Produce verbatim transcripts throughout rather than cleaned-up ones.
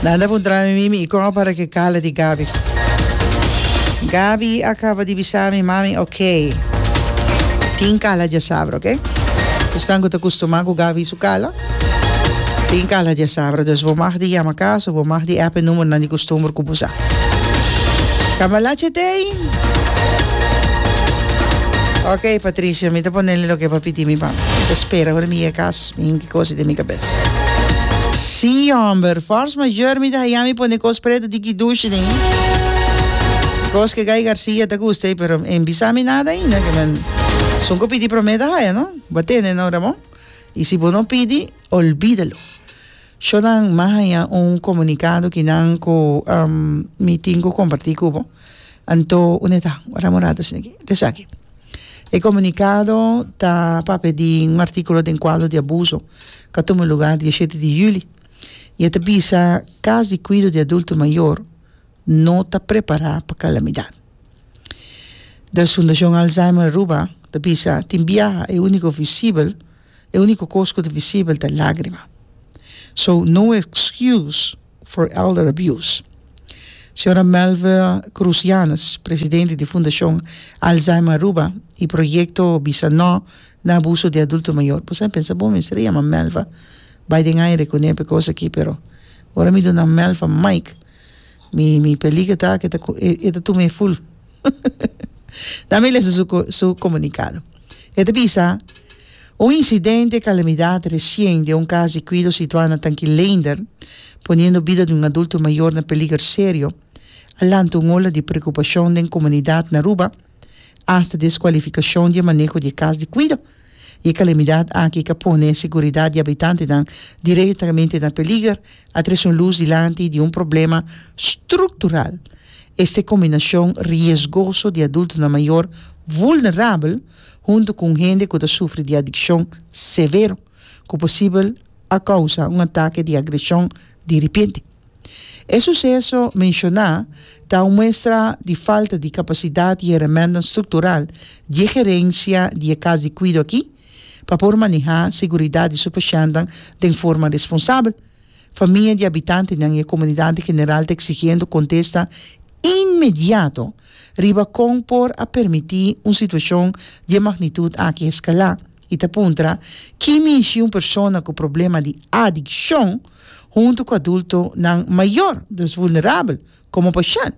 Nan ta puntra mi, Mimi, kon para ku kala di Gabi? Gabi a kaba di bisa mi, "Mami, ok. Tin kala djasabra, ok?" Esnan ku ta kustumá ku Gabi su kala. Tin kala djasabra. Dus bo mag di yama kas, bo mag di app number nan di kustumber ku bo sa. Cambalache t'ei. Ok, Patricia, mi ta pone loke pa pidi mi pa. Spera, ora mi kas, mi ki kos den mi kabes. Si, homber, force majeure mi ta mi pone kos pretu di ki dushi den. Kos ku Guy Garcia ta gusta, pero e n' bisa mi nada ainda, ke men esun ku pidi promé ta haya, no? Bo a tende, no, Ramon? I si bo no pidi, olvídalo. Shonan, m'a haña un komunikado ku nan ku um, mi tin ku kompartí ku bo. Anto, unda ta? Ramon rato aki. Esaki. E komunikado ta papia di un artíkulo den kuadro di abuso ku a tuma lugá dia shete di yüli. I ta bisa: kas di kuido di adulto mayor no ta prepará pa kalamidat. Da Fundashon Alzheimer Aruba, ta bisa: tin biaha e úniko visibel, e úniko kos ku ta visibel ta lágrima. So, no excuse for elder abuse. Señora Melva Crucianes, presidente di Fundashon Alzheimer Aruba i proyekto Bisa No na abuso di adulto mayor. Bo ta pensa, bon, mester yama Melva, bai den aire kuné kos aki, pero ora mi duna Melva mic, mi mi peliger ta ku e ta tuma full. Dami lesa su, su komunikado. E ta bisa: un insidente kalamidat resien den un kas di kuido situá na Tanki Leendert, poniendo bida di un adulto mayor na peliger serio, a lanta un ola di preokupashon den komunidat na Aruba, hasta deskualifikashon di maneho di kas di kuido. E kalamidat aki ku pone seguridat di habitantenan direktamente na peliger, a trese un lus dilanti di un problema struktural. Esta kombinashon riesgoso di adultonan mayor vulnerabel huntu ku hende ku ta sufri di adikshon severo, ku posibel a kousa un atake di agreshon di repente. E suseso menshoná ta un muestra di falta di kapasidat i herment struktural di gerensia di kas di kuido aki pa por manehá seguridat di su pashèntnan di forma responsabel. Famia di habitantenan i komunidat en general ta eksigiendo kontesta inmediato riba kon por a permití un situashon di magnitut aki eskalá i ta puntra ki mishi un persona ku problema di adikshon huntu ku adultonan mayor, dus vulnerabel, komo pashènt.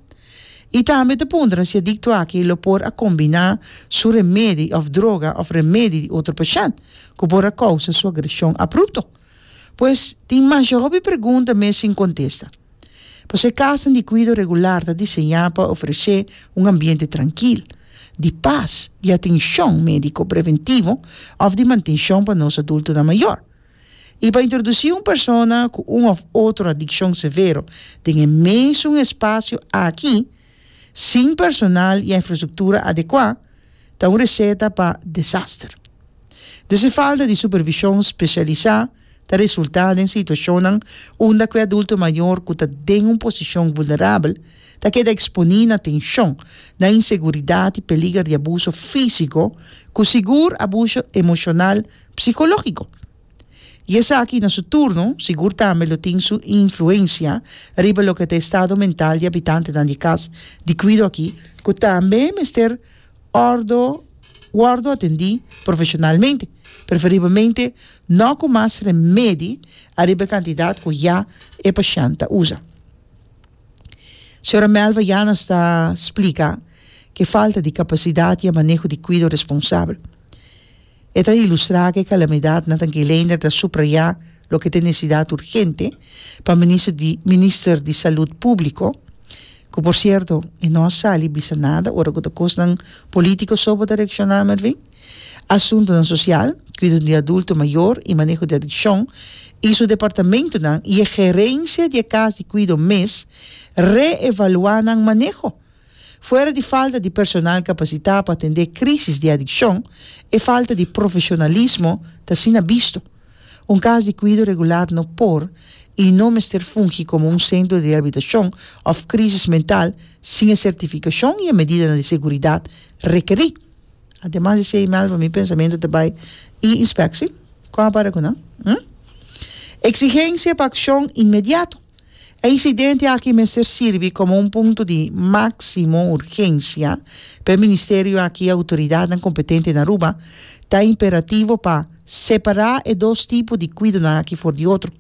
I tambe ta puntra si adikto aki lo por a kombiná su remedi òf droga òf remedi di otro pashènt, ku por a kousa su agreshon abrupto. Pues tin mas hopi pregunta mes sin kontesta. Pues e kas di kuido regular ta diseñá pa ofresé un ambiente trankil, di pas, di atenshon médiko preventivo òf di mantenshon pa nos adultonan mayor. I pa introdusí un persona ku un òf otro adikshon severo den e mesun espasio aki, sin personal i infrastruktura adekuá, ta un reseta pa desaster. Dus e falta di supervishon spesialisá ta resultá den situashon unda ku e adulto mayor ku ta den un posishon vulnerabel ta keda eksponé na tenshon, na inseguridat i peliger di abuso físiko, ku sigur abuso emoshonal psikológiko. I esaki, na su turno, sigur tambe lo tin su influensia riba loke ta estado mental di habitantenan di kas di kuido aki, ku tambe mester òrdu wòrdu atendí profeshonalmente, preferiblemente no ku mas remedi ariba kantidat ku ya e pashènt ta usa. Señora Melva Janos ta splika ku falta di kapasidat i maneho di kuido responsabel. E ta ilustrá ku e kalamidat na Tanki Leendert ta subrayá loke ta nesesidat urgente pa minister di minister di Salú Públiko, ku por sierto, e no a sali bisa nada, ora ku kosnan polítiko so bo ta reakshoná, Mervin. Asuntonan Sosial, Kuido di Adulto Mayor i Maneho di Adikshon, i su departamentonan i e gerensia di kas di kuido mes reevaluá nan maneho. Fuera di falta di personal kapasitá pa atendé krísis di adikshon, e falta di profeshonalismo ta asina bisto. Un kas di kuido regular no por i no mester fungi komo un sentro di rehabilitashon òf krísis mental sin e sertifikashon i e medida di seguridat rekerí. Ademas di esei, Melva, mi pensamentu tambe i inspekshon. Kua para ku nan? Hm? Eksigensia pa akshon inmediato. E incidente aki mester sirbi como un punto di maximo urgencia pa e ministerio aki y autoridadnan competente na Aruba. Ta imperativo pa separa e dos tipo di cuidonan aki for di otro.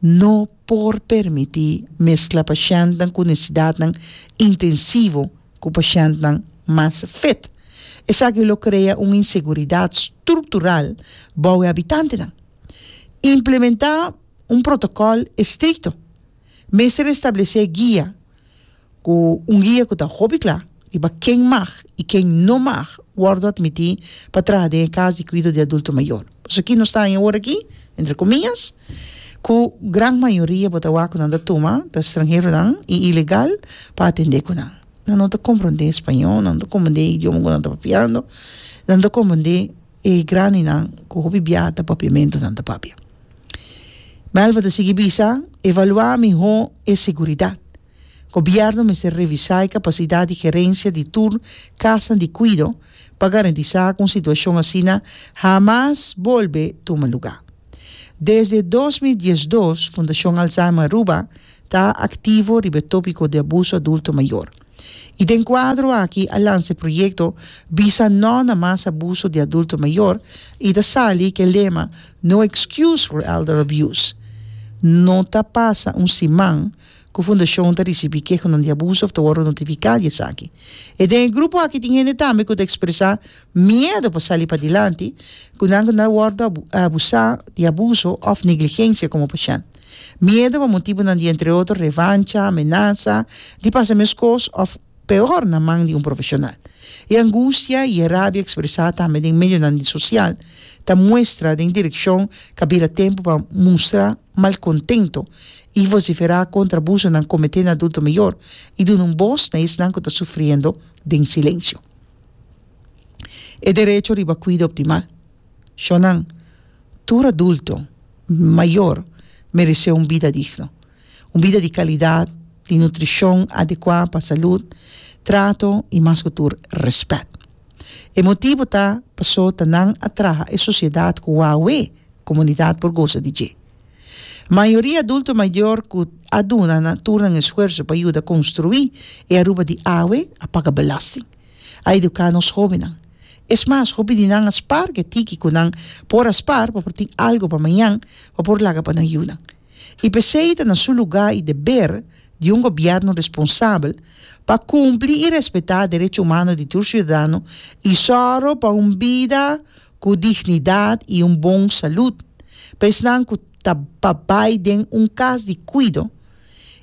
No por permiti mescla pashentnan cu necesidadnan intensivo cu pashentnan mas fit. Esaki lo crea un inseguridad structural bou e habitantenan. Implementa un protocol estricto. Mester establece guia, cu un guia cu ta hopi cla riba ken mag y ken no mag wordo admiti pa traha den e cas di cuido di adulto mayor. Pasobra aki nos ta awor aki, entre comillas, cu gran mayoria bo ta wak cu nan ta tuma ta stranheronan y ilegal pa atende cu nan. Nan no ta comprende spañó, nan no ta comprende e idioma cu nan ta papiando, nan no ta comprende e grandinan cu hopi bia ta papiamento nan ta papia. Melva ta sigui bisa, evalua miho e seguridad. Gobierno mester revisa e capacidad di gerencia di tur casnan di cuido pa garantisa cu un situacion asina hamas bolbe tuma luga. Desde dos mil diesdos Fundacion Alzheimer Aruba ta activo riba e topico di abuso adulto mayor. Y den cuadro aki a lansa e proyecto Bisa No na Mas Abuso di Adulto Mayor y ta sali cu e lema No Excuse for Elder Abuse. No ta pasa un siman cu fundacion ta ricibi kehonan di abuso of ta wordo notifica di esaki. E den e grupo aki tin hende tambe cu ta expresa miedo pa sali padilanti cu nan cu nan wordo abusa di abuso of negligencia como pashent. Miedo pa motibonan di entre otro revancha, amenaza, di pasa mescos of peor na man di un profesional. E angustia y e rabia expresa tambe den medionan di social ta muestra den direccion cu a bira tempo pa mustra malcontento y vocifera contra abusonan comete na adulto mayor y duna un bos na esnan cu ta sufriendo den silencio. E derecho riba cuido optimal. Shonan, tur adulto mayor merece un bida digno, un bida di calidad, di nutricion adecua pa salud, trato y mas cu tur respet. E motibo ta paso ta nan a traha e sociedad cu awe comunidad por goza di dje. Mayoria adulto mayor cu a duna nan tur nan esfuerzo pa yuda construi e Aruba di awe a paga belasting, a educa nos hobennan. Es mas, hopi di nan a spar ke tiki cu nan por a spar pa por tin algo pa mañan, pa por laga pa nan yunan. Y p'esey ta na su lugar y deber di un gobierno responsabel pa cumpli y respeta derecho humano di tur ciudadano y soro pa un bida cu dignidad y un bon salud. Pa esnan cu ta pa bay den un cas di cuido,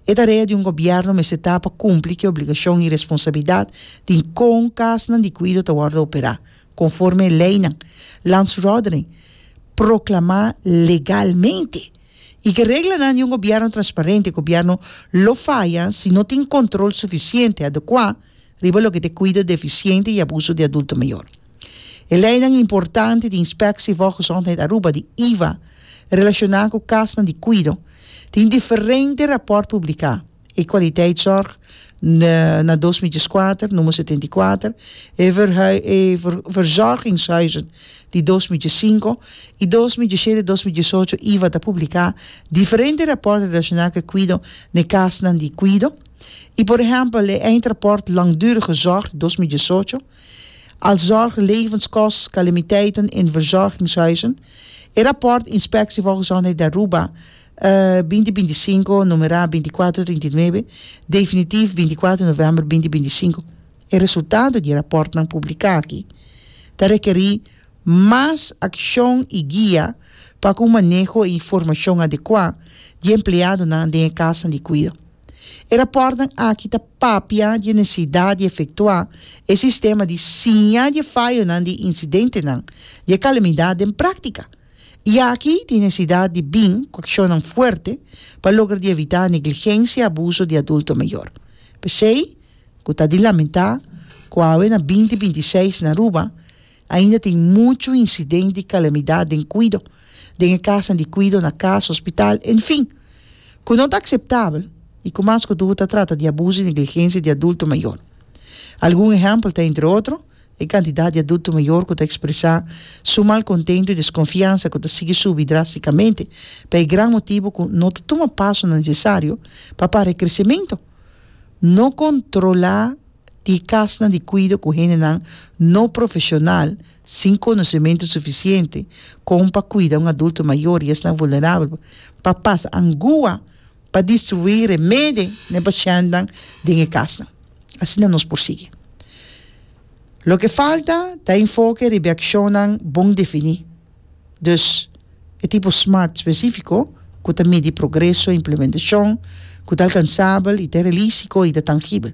e tarea di un gobierno mester ta pa cumpli cu e obligacion y responsabilidad di con casnan di cuido ta wordo opera, conforme e leynan, landsverordening, proclama legalmente. Y cu reglanan di un gobierno transparente, gobierno lo faya si no tin control suficiente adecua riba loke ta cuido deficiente y abuso di adulto mayor. E leynan importante di Inspectie Volksgezondheid Aruba, di I V A, relaciona cu casnan di cuido, tin diferente rapport publica. E kwaliteitszorg na, na dos mil dieskuater, nummer setenta i kuater, e verhui-, e ver-, verzorgingshuizen di dos mil diescinco y dos mil diesshete, dos mil diesocho, I V A ta publica diferente rapport relaciona cu cuido na casnan di cuido. Y por ehempel, e eindrapport langdurige zorg dos mil diesocho, als zorg levenskost, calamiteiten in verzorgingshuizen. E rapport Inspectie Volksgezondheid de Aruba, eh, binti binti cinco, numera binticuatro trinta i nuebe, definitief binticuatro november binti binti cinco. E resultado di rapport nan publica aki ta requerir mas accion y guia pa cu maneho e informacion adecua di empleado nan den casa di cuido. E rapport nan aki ta papia di necesidad di efectua e sistema di siña di fallo nan di incidente nan di calamidad en práctica. Y aki tin necesidad di bin cu accionnan fuerte pa logra di evita negligencia y abuso di adulto mayor. P'esey, cu ta di lamenta, cu awe na binti binti seis na Aruba, ainda tin mucho incidente di calamidad den cuido, den casa di cuido, na casa, hospital, en fin. Cu no ta aceptabel y cu mas cu tur ta trata di abuso y negligencia di adulto mayor. Algun ehempel ta, entre otro, E kantidat di adulto mayor ku ta ekspresá su malkontentu i deskonfiansa ku ta sigui subi drástikamente pa e gran motibu ku no ta tuma pasonan nesesario pa para e kresementu no kontrolá di kasnan di kuido ku hendenan no profeshonal sin konosementu sufisiente kon pa kuida un adulto mayor i esnan vulnerabel pa pasa angua pa distribuí remedi na e pashèntnan den e kasnan. Asina nos por sigui. Loke falta ta enfoke riba e akshonnan bon definí. Dus, e tipo smart spesífiko ku ta midi progreso, implementashon ku ta alkansabel i ta realístiko i ta tangibel.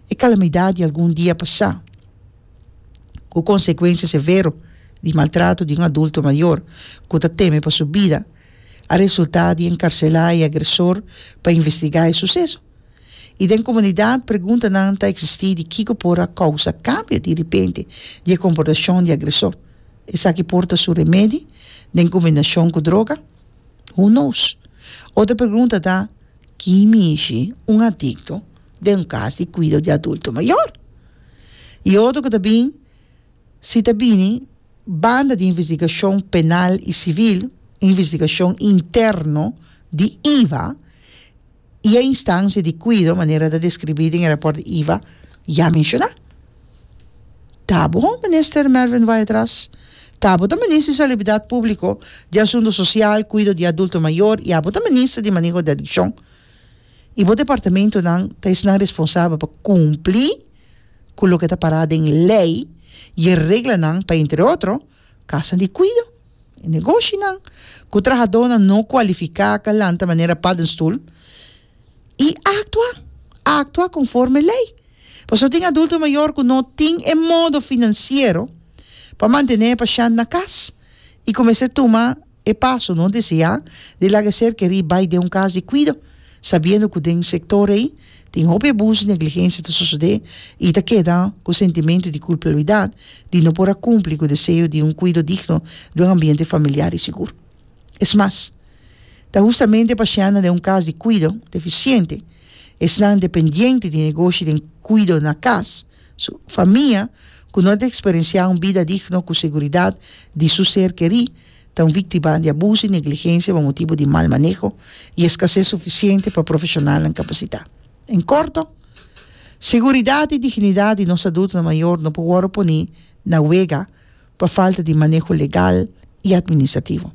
E kalamidat di algun dia pasá, ku konsekuensia severo di maltrato di un adulto mayor ku ta teme pa su bida, a resultá di enkarselá e agresor pa investigá e suseso. I den komunidat preguntanan ta eksistí di kiko por a kousa kambio di ripente di e komportashon di agresor. Esaki por ta su remedi den kombinashon ku droga? Who knows? Otro pregunta ta, ki mishi un adikto den un kas di kuido di adulto mayor? I otro ku ta bin, si ta bini banda di investigashon penal i sivil, investigashon interno di I V A i e instansia di kuido manera ta deskribí den e rapòrt di I V A ya menshoná. Ta bon, Minister Mervin Wyatt-Ras. Ta bo ta Minister di Salubridat Públiko, di Asuntu Sosial, Kuido di Adulto Mayor i abo ta Minister di Maneho di Adikshon. I bo departamentonan ta esnan responsabel pa kumpli ku loke ta pará den lei i e reglanan pa, entre otro, kasnan di kuido i negoshinan ku trahadónan no kualifiká ku a lanta manera paddenstoel i aktua, aktua konforme lei. Pasobra tin adulto mayor ku no tin e modo finansiero pa mantené pashènt na kas i kuminsá tuma e paso no deseá di laga ser kerí bai den un kas di kuido, sabiendo ku den sektor ei tin hopi abuso i negligensia ta sosodé i ta keda ku sentimentu di kulpabilidat di no por a kumpli ku deseo di un kuido digno den un ambiente familiar i sigur. Es mas, ta hustamente pashèntnan den un kas di kuido defisiente, esnan dependiente di negoshi den kuido na kas, su famia, ku no ta eksperensiá un bida digno ku seguridat di su ser kerí, ta un víktima di abuso i negligensia pa motibu di mal maneho i eskases sufisiente pa profeshonalnan kapasitá. En korto, seguridat i dignidat di nos adultonan mayor no por wòrdu poní na wega pa falta di maneho legal i atministrativo.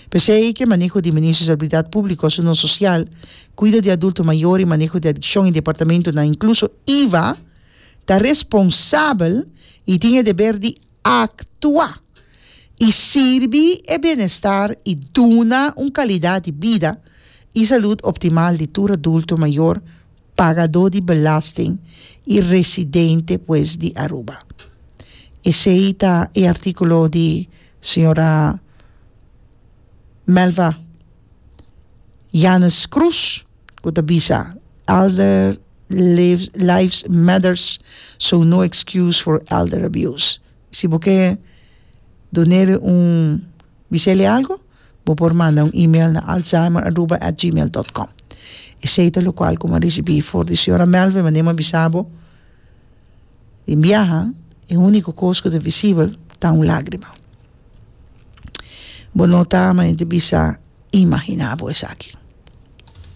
P'esei ku maneho di Ministerio di Salubridat Públiko, Asuntu Sosial, Kuido di Adulto Mayor i Maneho di Adikshon i departamentonan, inkluso I V A, ta responsabel i tin e deber di aktua i sirbi e bienestar i duna un kalidat di bida i salú optimal di tur adulto mayor, pagadó di belasting i residente, pues, di Aruba. Esei ta e artíkulo di señora Melva Janes Cruz, ku ta bisa "Elder lives, lives matters, so no excuse for elder abuse". Si bo ke dun'é un bis'é algu, bo por manda un email na alzheimer aruba at gmail punto com. Esei ta lokual ku m'a risibí for di señora Melva, manera m'a bisa bo. Tin biaha, e úniko kos ku ta visibel ta un lágrima. Bo no ta, ma bisa imaginá bo esaki.